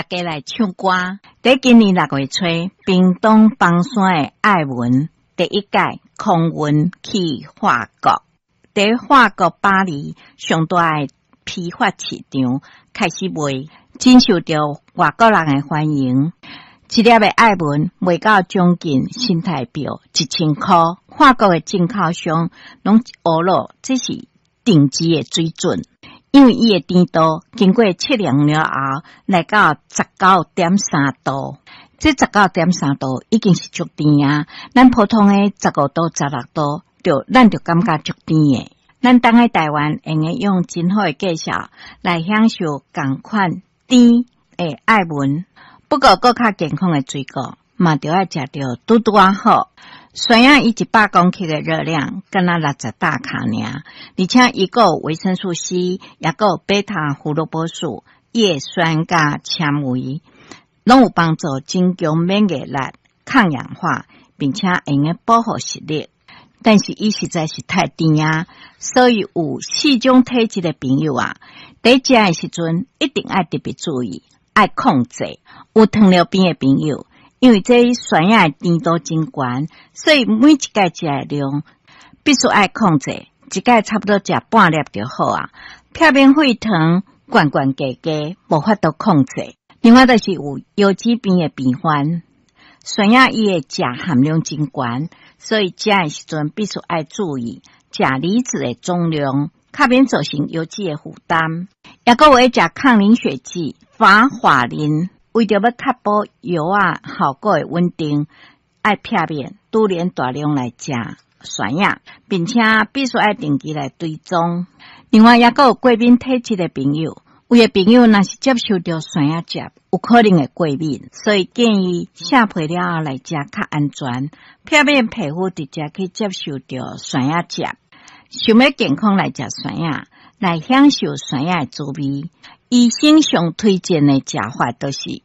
家來唱歌。佇今年6月初，屏東枋山的愛文第一屆空運去法國，佇法國巴黎上大的批發市場開始賣，真受著外國人的歡迎。一粒的愛文賣到將近新台幣1000箍，法國的進口商攏呵咾，這是頂級的水準。因為伊的甜度經過測量了後，來到19.3度，這19.3度已經是足甜啊！咱普通的15度、16度，就咱就感覺足甜的。咱當喺台灣，會用用真好的價數來享受仝款甜的愛文。不過，閣較健康的水果嘛，著愛食著拄拄仔好。酸葉伊100公克的熱量，敢若60大卡爾，而且伊閣有維生素 C，也閣有貝塔胡蘿蔔素、葉酸佮纖維，攏有幫助增強免疫力、抗氧化，並且會用保護視力。但是伊實在是太甜啊，所以有四種體質的朋友啊，佇食的時陣一定愛特別注意，愛控制。有糖尿病的朋友，因為這酸葉的甜度真懸，所以每一擺食的量必須愛控制，一擺差不多食半粒就好啊，避免血糖懸懸低低，無法度控制。另外就是有腰子病的病患，酸葉伊的鉀含量真懸，所以食的時陣必須愛注意鉀離子的總量，較免造成腰子的負擔。抑閣有愛食抗凝血劑、華法林，為著欲確保藥仔效果的穩定，愛避免拄然大量來食酸葉，並且必須愛定期來追蹤。另外，抑閣有過敏體質的朋友，有的朋友若是接受著酸葉汁，有可能會過敏，所以建議卸皮了後來食較安全，避免皮膚直接去接受著酸葉汁。想欲健康來食酸葉，來享受酸葉的滋味。醫生上推薦的食法就是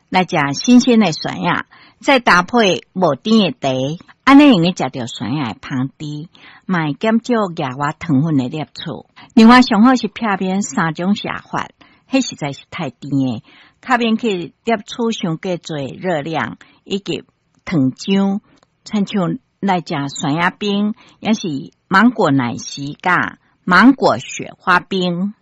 來食新鮮的酸葉，再搭配無甜的茶，按呢會用食著酸葉的芳甜，嘛會減少額外糖分的攝取。另外，上好是避免三種食法，彼實在是太甜的，較免去攝取傷過濟熱量以及糖漿，親像來食酸葉冰，抑是芒果奶昔佮芒果雪花冰。